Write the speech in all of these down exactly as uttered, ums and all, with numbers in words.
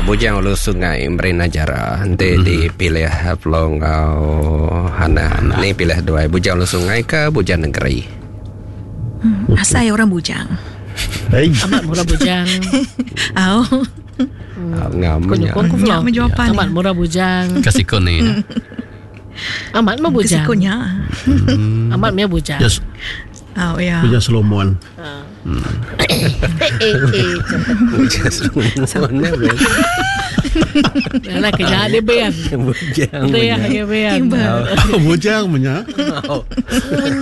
Bujang Ulu Sungai Merina Jara. Nanti mm-hmm. dipilih Flo ngau Hana. Ni pilih dua, Bujang Ulu Sungai ke Bujang Negeri. Hmm, asai orang bujang. Hey. Amat murah bujang. Au. Ngam. Ku nyukung ku Flo. Nya jawapan. Amat murah bujang. Kasih ni. Amat mah bujang. Kesikunya. Amat meh bujang. Yes. Oh ya. Bujang Solomon. Eh eh eh. Bujang Solomon. Nah, kerja dia biar. Bujang. Dia dia biar. Bujang punya.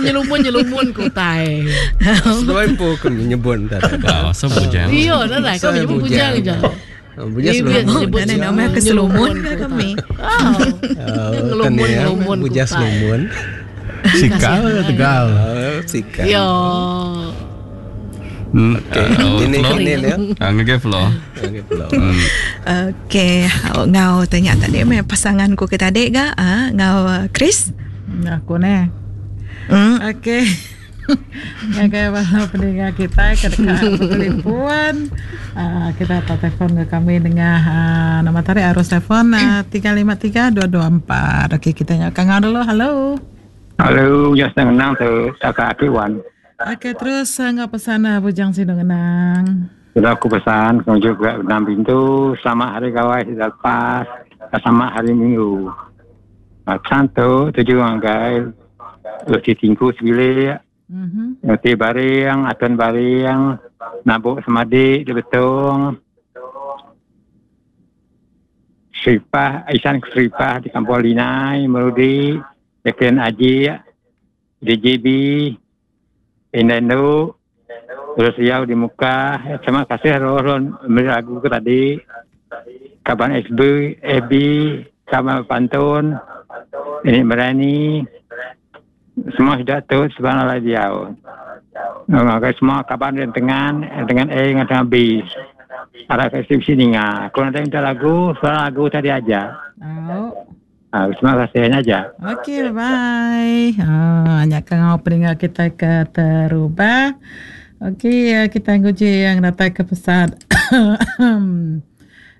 Nyelumun nyelumun ku tai. Seduai pun ku nyebut tadi. Oh, so bujang. Iya, dah lah. Kau menyebut bujang je. Bujang Dia Solomon. nyebut Dan nama ke Solomon ke kami. Oh. Ngelumun ngelumun ku Bujang tai. Solomon. Sikal Tegal. Oh, sikal. Yo. Hmm. Okey. Oh, Ini Flo. ini ya. Ah, ngagai Flo. Okey, Flo. Okey, ngau tanya tadi me pasangan ku ke tadi ga ah ngau uh, Chris. Aku ni. Hmm. Okey. Ngagai bala pendengar kita ke dekat bertelefon. Uh, kita tak telefon ke kami dengan uh, nombor tarik arus telefon uh, tiga lima tiga dua dua empat. Okey, kita nyalakan ngau dulu. Halo. Halo, ya senang nang tu tak kaki wan. Okey, terus uh, ngau pesan uh, Bujang Sinu Ngenang. Sudah aku pesan, kau juga enam pintu, selamat hari gawai sudah lepas, selamat hari Minggu. Pesan tu tujuh angkai, roti tingku sebilik, Mhm. roti baring, atun baring, nabuk semadi di betung, Seripah, Isan Seripah di Kampung Linai, Merudi, Jacqueline Aji, D J B, Indendo, terus Riau di muka. Terima kasih roh memberi lagu ke tadi. Kaban S B, F B, Kaban Pantun, ini berani. Semua sudah tu sebenarnya dia. Nah, semua kaban dengan dengan dengan A dengan dengan B. Ada ke sini ngah. Kalau nanti minta lagu, soal lagu tadi aja. Oh. Ah, terima kasih aja. Okey, bye-bye. Ah, banyak kau pendengar kita ke terubah. Okey, kita nguji yang datang ke pesan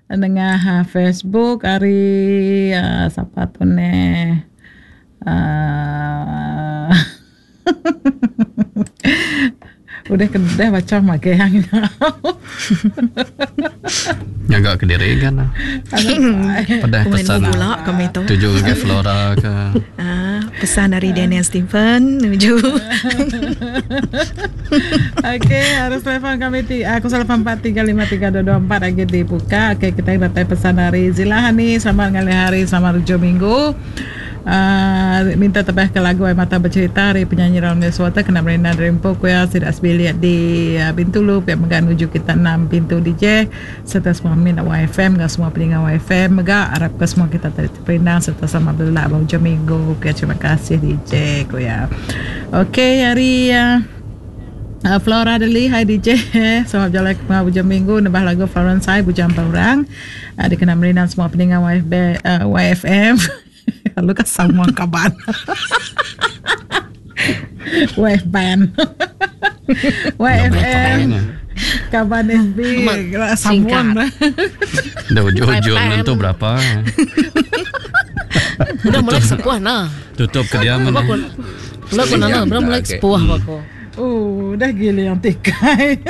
dengan Facebook hari uh, siapa tu ni? Uh, udah kedah baca make yang Nyaga ke diri kan. Pada Komen pesan pula kami tu. tuju ke Flora ke. Ah, pesan dari Daniel Stephen menuju. Okey, harus telefon kami ti aku delapan empat tiga lima tiga dua dua empat lagi dibuka. Okey, kita dapat pesan dari Zilahani. Selamat ngalih hari, selamat hujung minggu. Uh, minta tebah ke lagu Air Mata Bercerita dari penyanyi Ramli Suwata kena merina dari Empok ya tidak sebiliat di uh, Bintulu pihak megah menuju kita enam pintu D J serta semua minat Y F M dan semua pendengar Y F M megah harap ke semua kita tadi terperindang serta sama belak hujung minggu. Okey, terima kasih D J ku ya. Okey, hari uh, Uh, Flora Deli, hai D J. Selamat berjalan ke hujung minggu. Nembah lagu Florence Hai, Bujang Paurang. Uh, dikenal merinang semua pendengar Y F B, uh, Y F M. Lalu kan sama kaban. Y F band. Y F M. Kaban F B. Samuan. Dah hujung-hujung tentu berapa. Udah mulai sepuh nah. Tutup kediaman. Udah aku udah mulai sepuh aku. Oh, dah giliang tikai.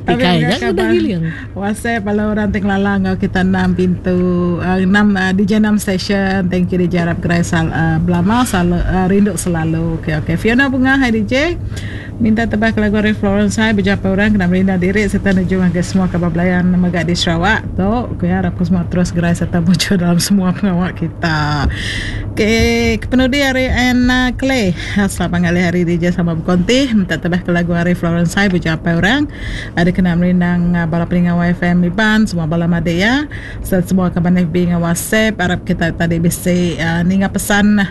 Tikai dah udah giliang. WhatsApp kalau orang teng lalang kita enam pintu uh, enam uh, D J enam station. Thank you D J Arab Gerai sal, uh, Belama sal, uh, rindu selalu. Okey okey. Fiona Bunga, hai D J. Minta tebak lagu dari Florence Hai berjumpa orang kena merinda diri serta nuju ke semua kabar belayan megak di Sarawak tu. Okey, harap semua terus gerai serta muncul dalam semua pengawal kita. Okey, penudi hari Anna Clay. Selamat ngalih hari D J sama Bukonti. Minta tebak ke lagu hari Florence Hai berjumpa orang. Ada kena merindang bala pendengar Y F M Iban, semua bala made ya. Serta semua kabar F B dengan WhatsApp. Harap kita tadi bisa uh, ninga pesan